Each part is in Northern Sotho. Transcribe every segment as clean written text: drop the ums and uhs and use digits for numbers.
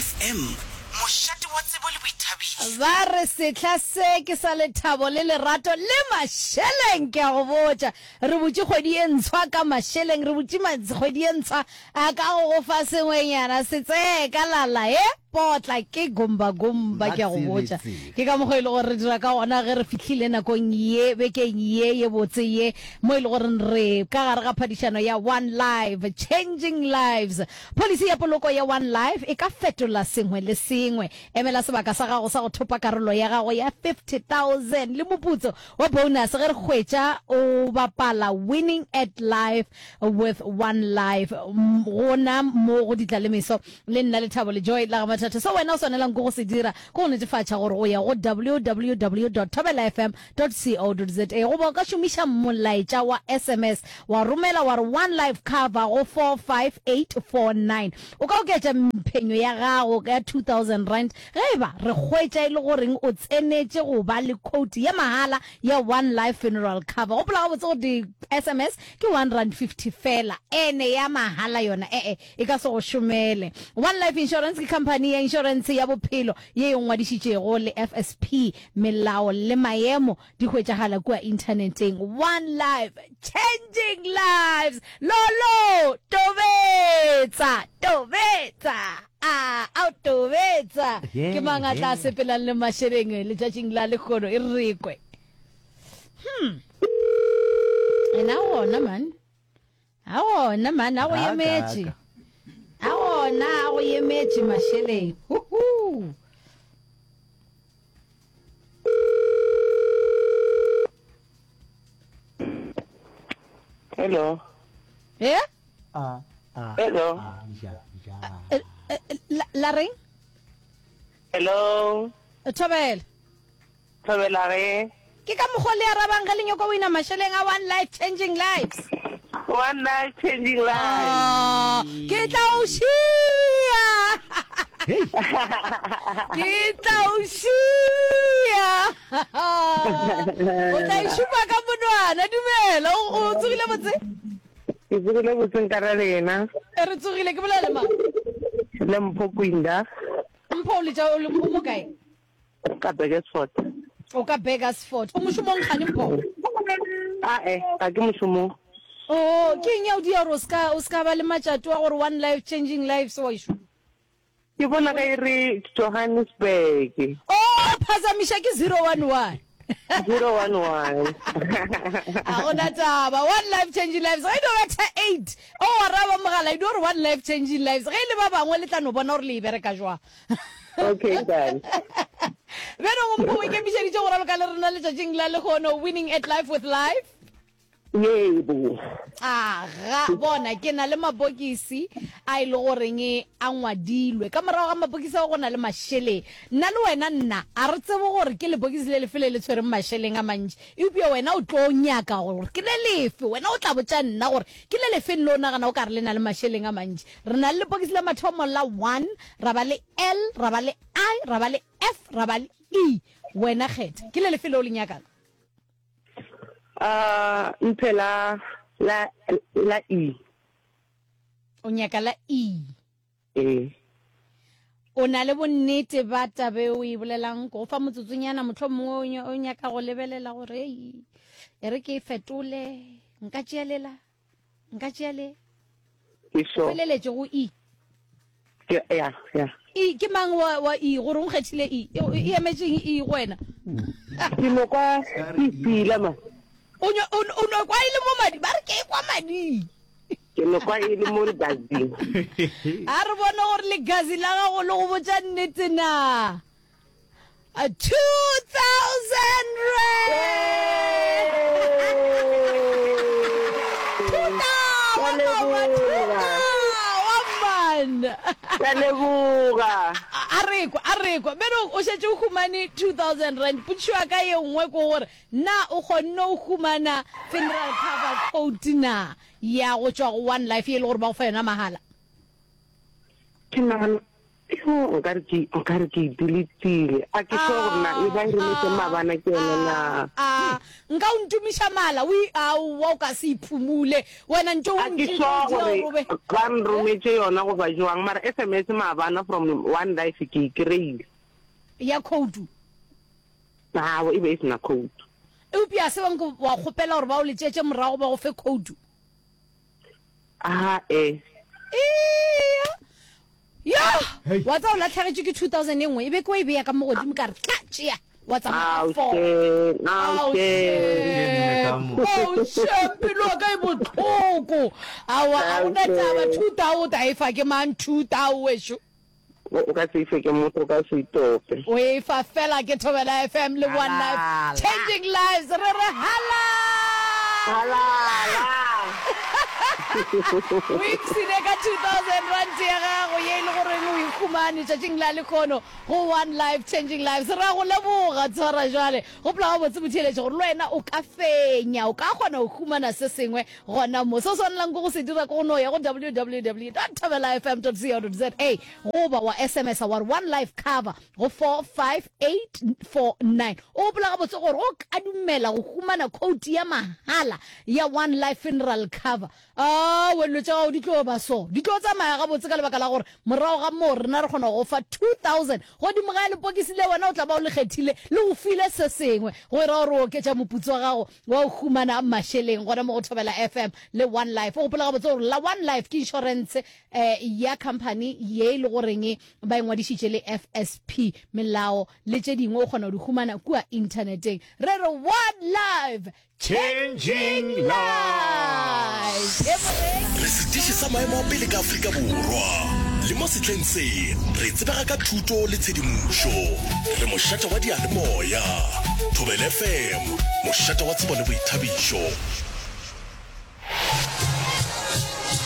FM, mošate wa tsebo le boithabišo. Ba re sehla se ke sa lethabo le lerato le mašeleng, ke a go botša. Re butše kgwedi ye ntshwa ka mašeleng, re butše kgwedi ye ntshwa a ka go go fa sengwenyana se tsee ka lala he potla ke gombagomba, ke a go botša. Ke ka mokgwa e le gore re dira ka gona ge re fihlile nakong ye, bekeng ye ye botse ye, mo e le gore re ka gare ga phadišano ya One Life, Changing Lives. Pholisi ya poloko ya One Life e ka fetola sengwe le sengwe. Emela sebaka sa gago sa go thopa karolo ya gago ya 50,000 le moputso wa bonus ge re hwetša o bapala Winning at Life with One Life gona mo go Ditlalemeso le nna Lethabo le Joy la ga Mathatho. Se wena o swanelang ke go se dira ke go netefatša gore o ya go www dot thobelafm dot co dot za goba o ka šomiša molaetša wa sms wa romela wa re One Life Cover go 45849. O ka oketša phenyo ya gago ka R2000 ge e ba re hwetša e le goreng o tsenetše go ba le quote ya mahala ya One Life Funeral Cover. Gopola gabotse gore di-SMS ke R1.50 fela, ene ya mahala yona e-e e ka se go šomele. One Life Insurance ke khamphani ya inšorentshe ya bophelo ye e ngwadišitšego le FSP. Melao le maemo di hwetšagala kua inthaneteng. One Life, changing lives! Lolo, tobetsa! Tobetsa! A, ao tobetsa! Ke mang a tla sepelang le mašeleng letšatšing la lehono? E re kwe. Hmm. Ena gona man. A gona man, a go emetše. A gona, a go emetše mašeleng. Huhu. Hello. Eh? A a Hello. a ja ja. Eh, eh, La, la reng? Hello. Thobela. Thobela ge. Ke ka mokgo le arabang ge le nyoko wina mašeleng a One Life Changing Lives. One Life Changing Lives. Oh, ke tla o šia. Ke tla o šia. O tla e šupa ka monwana. Dumela, o o tsogile botse? Ke tsogile botse nka ra lena. E re tsogile, ke bolela le mang? Le Mpho Kwinda. Mpho o letša o le o mo kae? Ka Burgersfort. O ka Burgersfort. O mošomong kgane Mpho? Ae, ga ke mošomong. Oh, ke eng ya o dia gore o ska o ska ba le matšato wa gore one life changing lives wa ešo? Ke bona ge e re Johannesburg. Oh, phazamiša ke 011. 011. Ga gona taba. One life changing lives. Ge e no betha 8, o araba mogala e no re one life changing lives. Ge e le ba bangwe le tla no bona gore le e bereka jwang. Okay, done. Bjalo go Mpho o ikemišeditše go raloka le rena letšatšing la lehono Winning at Life with Life. Yebo. Aga, bona ke na le mabokisi a e le goreng a ngwadilwe. Ka morago ga mabokisi ao go na le mašeleng. Nna le wena nna a re tsebe gore ke lebokisi le lefe le le tshwereng mašeleng a mantši. Eupša wena o tlo nyaka gore ke le lefe. Wena o tla botša nna gore ke le lefeng le o nagana o ka re le na le mašeleng a mantši. Re na le lepokisi la mathomo la 1, ra ba le L, ra ba le I, ra ba le F, ra ba le E. Wena kgetha. Ke le lefe leo le nyakang? Uh, mphe la, la, la E. O nyaka la E. Ee. O na le bonnete ba tabe o e bolelang? Ko go fa motsotsonyana, mohlomongwe o nyaka go lebelela gore ei, e re ke e fetole, nka tšea lela. Nka tšea le. Ke sure. O feleletše go E. Ke, ya, ya. E, ke mang wa, wa E, gore o nkgethile E? E, e emetšeng E go wena? Ke no kwa ke fila ma. O nyo, o, o no kwa e le mo madi, ba re ke e kwa mading. Ke no kwa e le mo legazing. A re bone gore legazi la gago le go botša nnete na. A 2000 rand! Ke a leboga. A re kwa, a re kwa. Beno o šetše o humane 2000 rand. Potšišo ya ka ye nngwe ke gore na o kgonne o humana funeral cover quote na ya go tšwa go One Life ye e le gore ba go fa yona mahala? Ke nagana. Yo, nkare ke nkare ke e deletile. A ke sure gore na e ba e rometse maabana ke yone na. A nka o ntumiša mala o aowa o ka se iphumule wena ntše o A ke sure gore ba nrometše yona goba jwang mara SMS maabana from One Life ke e kry-ile. Ya khoutu? Aowa e be e se na khoutu. Eupša se bang wa kgopela gore ba o letšetše morago ba go fe khoutu? A e. Eya. Ya! Wa tseba o lahlegetšwe ke 2000 e nngwe, e be ke o e beya ka mo godimo ka re tla tšea wa tsamaya ka four. Ao shame. Ao shame, pelo ya ka e bohloko. Aowa, ga go na taba, 2000 o ta e fa ke mang 2000 wešo? O ka se e fe ke motho, o ka se itope. O e fa fela ke Thobela FM le One Life Changing Lives. Re re halala! Halala! O ipshine ka 2000 rand ya gago ye e le goreng o e humane tšatšing la lekhono go One Life Changing Lives. Re a go leboga tshwara jwale. Gopola gabotse motheeletši gore le wena o ka fenya, o ka kgona go humana se sengwe Gona mo, se o swanelang ke go se dira ke go no ya go www dot thobelafm dot co dot za goba wa SMS-a wa re One Life Cover go 45849. O gopola gabotse gore o ka dumela go humana khoutu ya mahala ya One Life Funeral Cover. Aowa, dilo tša gago di tlo ba so. Di tlo tsamaya gabotse ka lebaka la gore morago ga moo rena re kgona go go fa 2000 godimo ga lepokisi le wena o tla ba o le kgethile le go file se sengwe go e ra gore o oketša moputso wa gago wa go humana mašeleng gona mo go Thobela FM le One Life. O gopola gabotse gore la One Life ke inšorense eh, ya company ye e le goreng ba e ngwadišitše le FSP. Melao le tše dingwe o kgona go di humana kua inthaneteng. Re re One Life, Changing Lives! E moreki. Re setiši sa maemo a pele ka Afrika Borwa. Le mo sehleng se, re tsebega ka thuto le tshedimošo. Re mošate wa diyalemoya. Thobela FM, mošate wa tsebo le boithabišo.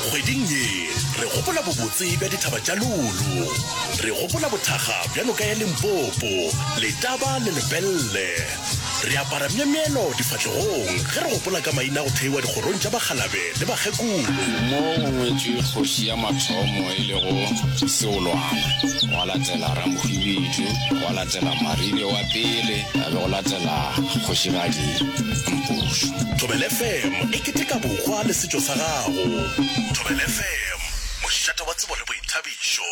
Kgweding ye, re gopola bobotse bja dithaba tša Lolo. Re gopola bothakga bja noka ya Limpopo, Letaba le Lepelle. Re apara myemyelo difahlegong ge re gopola ka maina a go theiwa dikgorong tša bakgalabe le bakgekolo. Mo go ngwetšwe kgoši ya mathomo e lego Seolwana, gwa latela Ramohwibidu, gwa latela Maribe wa pele, a be go latela Kgošigadi Mpušo. Thobela FM e keteka bohwa le setšo sa gago. Thobela FM, mošate wa tsebo le boithabišo.